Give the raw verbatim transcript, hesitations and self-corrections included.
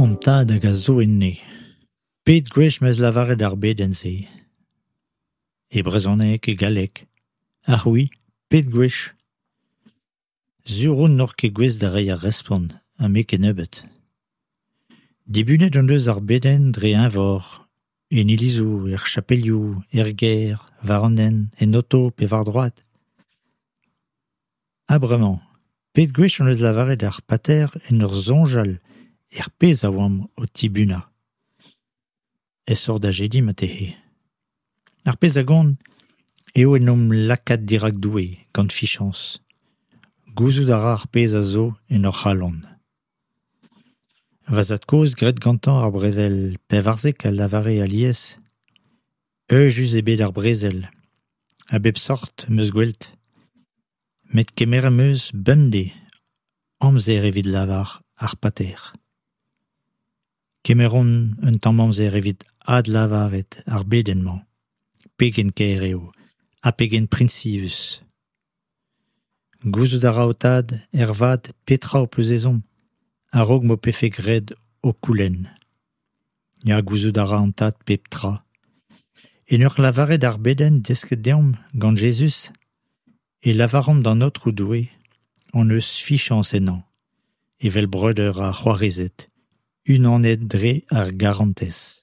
Hon Tad hag a zo en Neñv. Pet gwech 'm eus lavaret ar bedenn-se ? E brezhoneg, e galleg. Ha c'hwi, pet gwech ? Sur on n'oc'h ket gouest da reiñ ar respont ha me kennebeut. Dibunet hon eus ar bedenn dre eñvor, en ilizoù, er chapelioù, er gêr, war an hent, en oto pe war droad. Ha bremañ, pet gwech hon eus lavaret ar Pater en ur soñjal er pezh a oamp o tibunañ ? Aesoc'h da jediñ marteze. Ar pezh a gont eo en em lakaat dirak Doue gant fiziañs. Gouzout a ra ar pezh a zo en hor c'halon. Va zad-kozh graet gantañ ar brezel pevarzek a lavare alies : Euzhus eo bet ar brezel, a bep seurt 'm eus gwelet, met kemeret 'm eus bemdez amzer evit lavaret ar Pater. Kemeromp un tamm amzer evit adlavaret ar bedenn-mañ, pegen kaer eo ha pegen prizius. Gouzout a ra ho Tad ervat petra ho peus ezhomm a-raok m'ho pefe graet ho koulenn. Ya, gouzout a ra an Tad pep tra. En ur lavaret ar bedenn desket deomp gant Jezuz e lavaromp d'an Aotrou Doue hon eus fiziañs ennañ, evel breudeur ha c'hoarezed, unanet dre ar garantez.